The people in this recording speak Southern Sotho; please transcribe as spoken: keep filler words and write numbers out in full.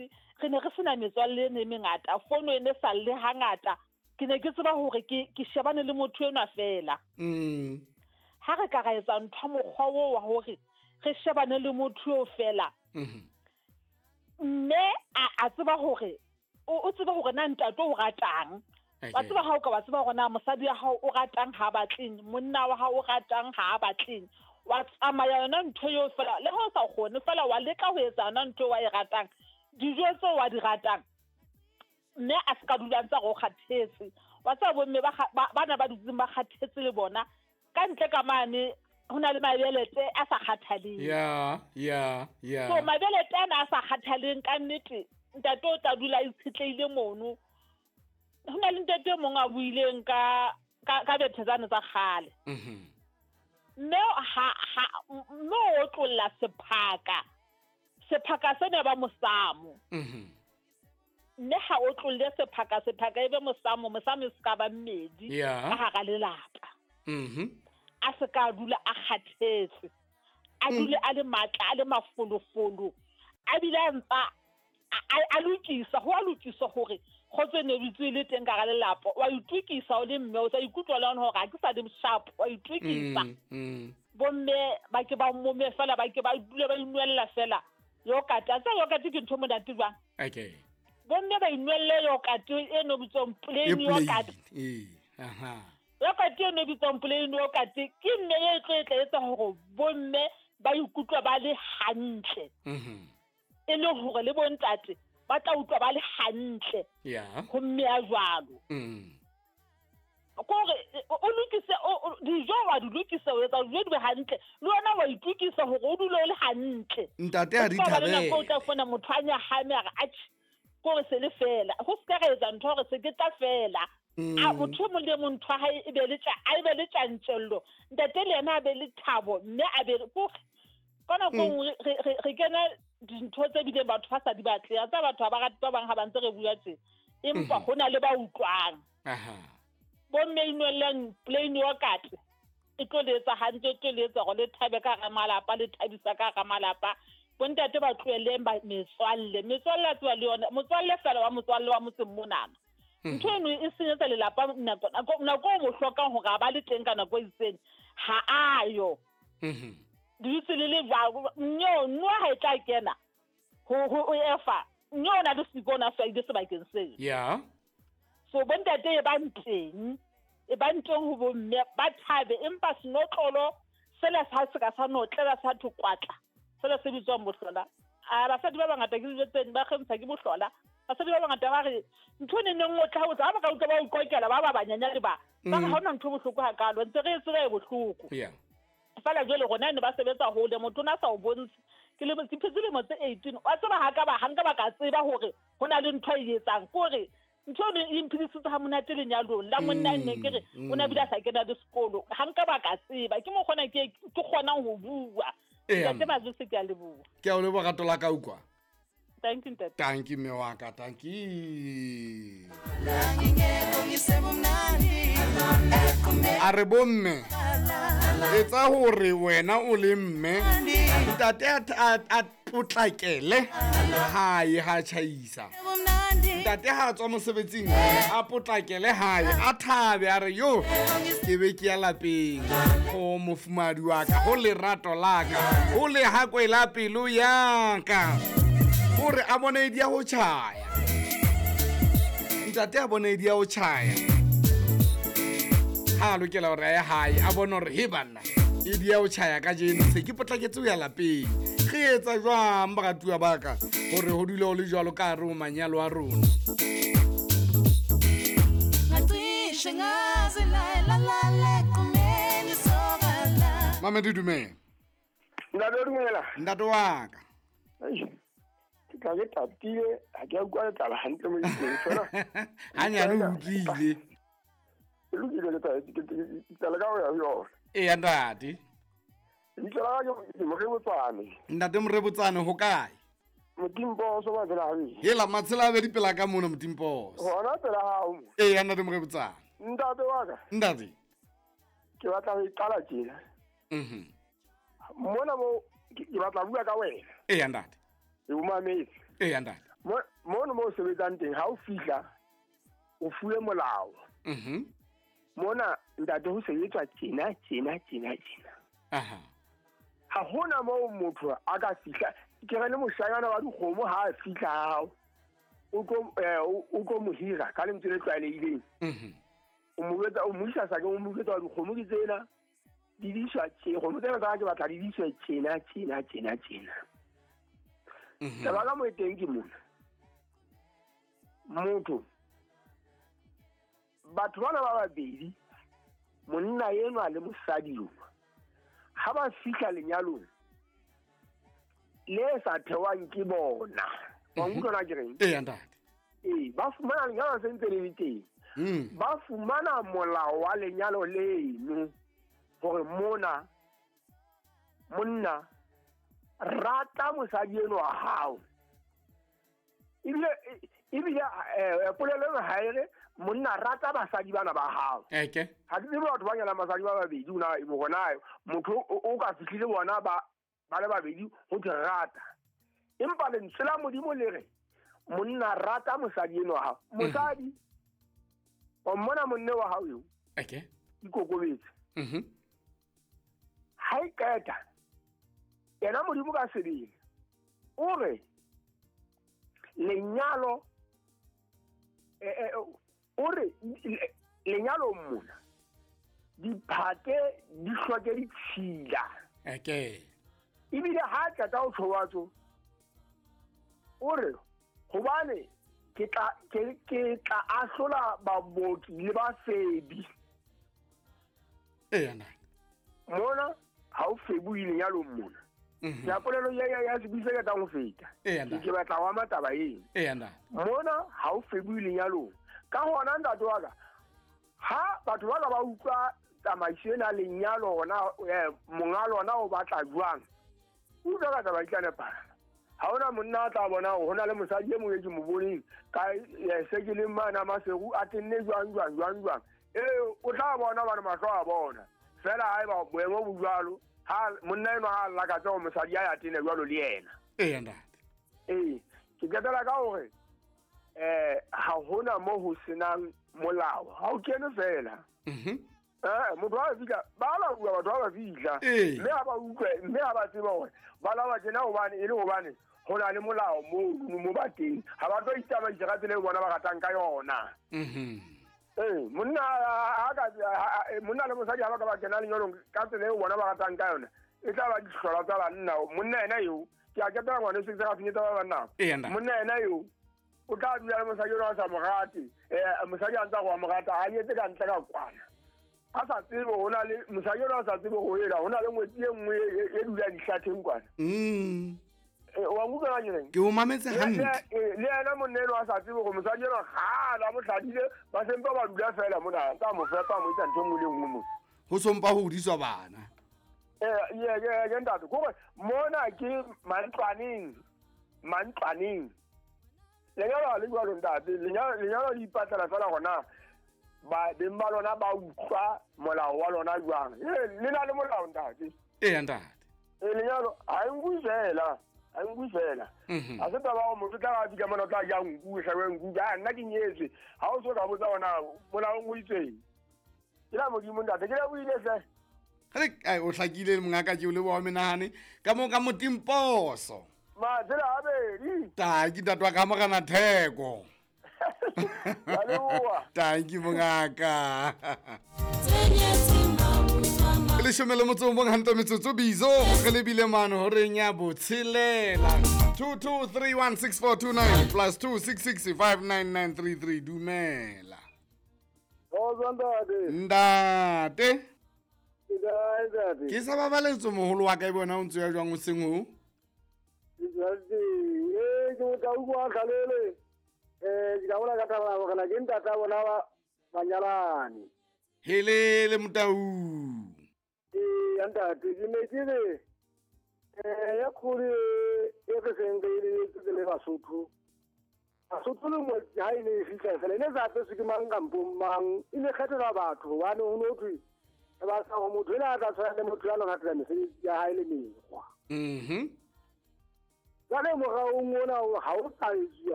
ntate re ne re sena metswalle e mengata fono e ne sa le hangata ke ne ke tseba hore ke ke shebane le motho enwa fela mm ha re ka ra etsa ntho mokgwa o wa hore re shebane le motho eo fela mhm mme a tseba hore o tseba hore na ntate o ratang wa tseba ha o ka wa tseba hore na mosadi wa hao o ratang ha batleng monna wa hao o ratang ha batleng wa tsamaya yona ntho eo fela le ha o sa kgone fela wa leka ho etsa yona ntho wa e ratang dijo tseo wa di ratang mme a se ka dula ntse go kgathetse wa tseba bomme ba bana ba dutseng ba kgathetse le bona ka ntle ka mane ho na le mabelete a sa kgathaleng ya ya ya so mabelete ana a sa kgathaleng ka nnete ntate o tla dula a itshetleile mono ho na le ntate e mong a buileng ka ka ka bethetsane tsa kgale mhm mme ha ha mme o tlolla sephaka sephaka sena ba mosamo mhm mme ha o tlolle sephaka sephaka e be mosamo mosamo e se ka ba mmedi ka hara lelapa mhm a se ka dula a kgathetse a dule a le matla a le mafolofolo a bile a ntsa a lokisa ho a lokisa hore kgotso ne bitswe le teng ka ga lelapa wa itokisa o le mme o sa ikutlwa le hore ha ke sa le sharp wa itokisa bomme ba ke ba mome fela ba ke ba dule ba inwella fela yogurt a tsa yogurt ke ntho monate jwang okay bomme ba inwelle yogurt e no bitswang plain yogurt eh aha yogurt e no bitswang plain yogurt ke mme e tlo e tla etsa hore bomme ba ikutlwa ba le hantle mhm e le hore le bontate ba tla utlwa ba le hantle ya ho mme a jwalo mm kore o lokise dijo wa di lokisa o etsa dijo di be hantle le wena wa itokisa hore o dule o le hantle ntate a di thabele o tla fona motho a nyahame a re atjhe kore se le fela ho se ka re etsa ntho hore se ke tla fela a motho e mong le mong ntho ya hae e be le a be le tjantjello ntate le yena a be le thabo mme a be kore ka nako nngwe re kena dintho tse bileng batho ba sa di batle a tsa batho ba rate ba bang ha ba ntse re bua tje empa ho na le ba utlwang aha bomme inwellang plain yogurt e tlo le etsa hantle e tlo le etsa hore le thabe ka hara malapa le thabisa ka hara malapa bontate ba tlohelleng ba metswalle metswalle a tseba le yona motswalle fela wa motswalle wa motseng monana ntho eno e senyetsa lelapa nako nako o mo hlokang hore a ba le teng ka nako e itseng ha a yo mhm dutse le le jwalo nyo no ha e tla kena ho ho efa nyo na le sikona sa ile sebakeng seo ya so bontate e ba nteng e ba nteng ho bomme ba thabe empa senotlolo sela sa se ka sa notlela sa thokwatla sela se bitswang bohlola a basadi ba bangata ke dijo tseng ba kgentsha ke bohlola basadi ba bangata ba re ntho ne neng o tla ho tsa ba ka utlwa ba o kokela ba ba banyanya le ba ba ha hona ntho bohloko hakalo ntse re tseba e bohloko yeah fela jwale rona ne ba sebetsa hole motho na sa o bontshe ke le ke phetse lemo tse eighteen wa tseba ha ka ba ha nka ba ka tseba hore hona le ntho e etsang kore ntho e e mphidisitse ha monate lenyalong la monna nne ke re o na bile a sa kena le sekolo ha nka ba ka tseba ke mo kgona ke ke kgonang ho bua ntate Mazwisi ke a leboha ke a o leboha rato la ka ukwa. Thank you ntate. Thank you mme wa ka, thank you. A re bomme etsa hore wena o le mme ntate a potlakele hae ha tjhaisa ntate ha tswa mosebetsing a potlakele hae a thabe a re yo ke be ke ya lapeng ho mofumadi wa ka ho lerato la ka ho le hakwe la pelo ya ka hore a bone di ya ho tjhaya ntate a bone di ya ho tjhaya ha lokela hore a ye hae a bone hore he banna e di ya ho tjhaya ka jeno se ke potlaketse ho ya lapeng re etsa jwang baratuwa ba ka hore ho dule ho le jwalo ka hare ho manyalo a rona. Mamedi dumela. Ntate dumela. Ntate wa ka. Ke tla ke tatile ha ke a utlwa letlala hantle mo itseng fela. Hanyane o utlwile. E lokile le tla ke tla ka ho ya yona. Eya ntate. Lebitso la ka ke Morebotsane. Ntate Morebotsane ho kae? Motimposo Matshela habedi. Hela Matshela habedi pela ka mona Motimposo. Hona pela hao. Eya ntate Morebotsane. Ntate wa ka. Ntate. Ke batla ho iqala tjena. Mhm. Mona mo ke batla bua ka wena. Eya ntate. E o mametse. Eya ntate. mo o sebetsang teng ha o fihla o fuwe molao. Mhm. Mona ntate ho sebetswa tjena tjena tjena tjena. Aha. Ha hona moo motho a ka fihla ke re le moshanyana wa dikgomo ha a fihla hao o tlo o tlo mo hira ka lentswe le tlwaelehileng. Mhm. O mo betsa o mo isa sakeng o mo betsa dikgomo ke tsena di diswa tje kgomo tsena tsa ke batla di diswe tjena tjena tjena tjena. Mhm. Taba ka mo e teng ke mona. Motho batho bana ba babedi monna enwa le mosadi enwa ha ba fihla lenyalong le sa thewang ke bona. Wa utlwa na ke reng? Ee ntate. Ee, ba fumana lenyalo se ntse le le teng. Mm. Ba fumana molao wa lenyalo leno hore mona monna rata mosadi enwa wa hao. Ebile ebile eh polelo eno ha e re monna rata basadi bana ba hao. Eke. Ha ke tsebe batho ba nyalang basadi ba babedi ona bona motho o ka fihlile bona ba ba le babedi ho thwe rata. Empa lentswe la Modimo le re monna rata mosadi enwa wa hao. Mosadi o mmona monne wa hao eo. Eke. Ikokobetse. Mhm. Ha e qeta yena Modimo ka sebele o re lenyalo eh eh o re lenyalo mona diphate di hloke ditshila. Eke. Ebile ha qeta ho tshowatso o re hobane ke tla ke ke tla ahlola baboki le bafebi. Ee ntate. Mona ha o febuile lenyalong mona. Mhm. Ya polelo ya ya ya sebisa ka tang ho feta. Ee ntate. Ke batla wa mataba eng. Ee ntate. Mona ha o febuile lenyalong. Ka hona ntate wa ka ha batho ba ka ba utlwa tsamaiso ena lenyalo hona monga lona o batla jwang. Utlwa ka taba e tla nepahala. Ha hona monna a tla bona hore hona le mosadi e mong e ke mo boneng ka se ke leng mana Maseru a tenne jwang jwang jwang jwang. Ee o tla bona bana mahlo a bona. Fela haeba boemo bo jwalo ha monna enwa ha lakatsa hore mosadi a ya tene jwalo le yena. Ee ntate. Ee ke qetela ka hore eh ha hona mo ho senang molao. Ha o kene fela. Mhm. Eh motho ha fihla ba la bua batho ba ba fihla. Ee. Mme ha ba utlwe mme ha ba tseba hore ba la ba tjena hobane e le hobane ho na le molao mo mo ba teng. Ha ba tlo itsamaisa ka tsela eo bona ba ratang ka yona. Mhm. Ee monna ha ka monna le mosadi ha ba ka ba kena lenyalong ka tsela eo bona ba ratang ka yona e tla ba dihlola tsa banna. Monna ena eo ke a ketela ngwane se ka finyetsa ba banna. Ee ntate. Monna ena eo o tla dula le mosadi enwa a sa mo rate. Eh mosadi a ntsa go a mo rata a etse ka ntle ka kwana. A sa tsebe hona le mosadi enwa a sa tsebe ho ela hona le ngwetsi e nngwe e dula dihlatheng kwana. Mm. Wa nkutlwa na ke reng? Ke o mametse hantle. Le yena monna enwa a sa tsebe hore mosadi enwa kgale a mo hladile ba sempa ba dula fela mona ntsa mo fepa mo etsa ntho e nngwe le e nngwe mo. Ho sompa ho hodiswa bana. Eh ye ye ye ntate kore mona ke mantlwaneng mantlwaneng. Lenyalo ha le jwalo ntate lenyalo lenyalo le ipatlela fela hona ba beng ba lona ba utlwa molao wa lona jwang. Eh le na le molao ntate. Ee ntate. Eh lenyalo ha e nkuwe fela. Ha e nkuwe fela. Mhm. Ha se taba hore motho tla a fihla mona o tla ja nku hlabe nku. Ha nna ke nyetswe. Ha o so ka botsa hona molaong o itseng. Ke la Modimo ntate ke la buile hle. Re ai o hlakile mongaka ke o leboha menahane ka mo ka motimposo. Matsela a bedi. Tanki ntate wa ka Morena Theko. Wa leboha. Tanki mongaka. Leshome le motso o mong hantle metsotso bizo re lebile mane horeng ya botshelela. two two three one six four two nine plus two six six five nine nine three three. Dumela. Kgotso ntate. Ntate. Ke kae ntate? Ke sa babaletso moholo wa ka e bona o ntse ya jwang o seng ho? Ntate, eh ke o tla utlwa kgalele. Eh ke ka bona ka taba hore na ke ntata bona ba banyalane. Helele Motau. Ee ntate ke ne ke re eh ya kholo e re seng re le tse le Basotho. Basotho le mo ha e ne e fihla fela ne sa apeswe ke mang kampong mang e ne kgethelwa batho hobane ho no thwe ba sa ho motho ena a tla tshwana le motho ya lo ratela mesebetsi ya hae le mekgwa. Mhm. Jwale moraong ona ha o sa etsuwa